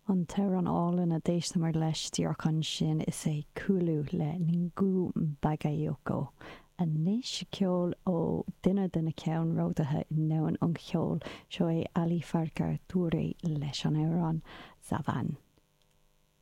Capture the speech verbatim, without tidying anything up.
An t-amhrán álainn a d'éisteamar leis díreach ansin is é Kulu le Ngingu Bagayoko. Anois ceol ó duine de na ceannródaithe i ndomhan an cheoil seo é Ali Farka Touré leis an amhrán Zavan.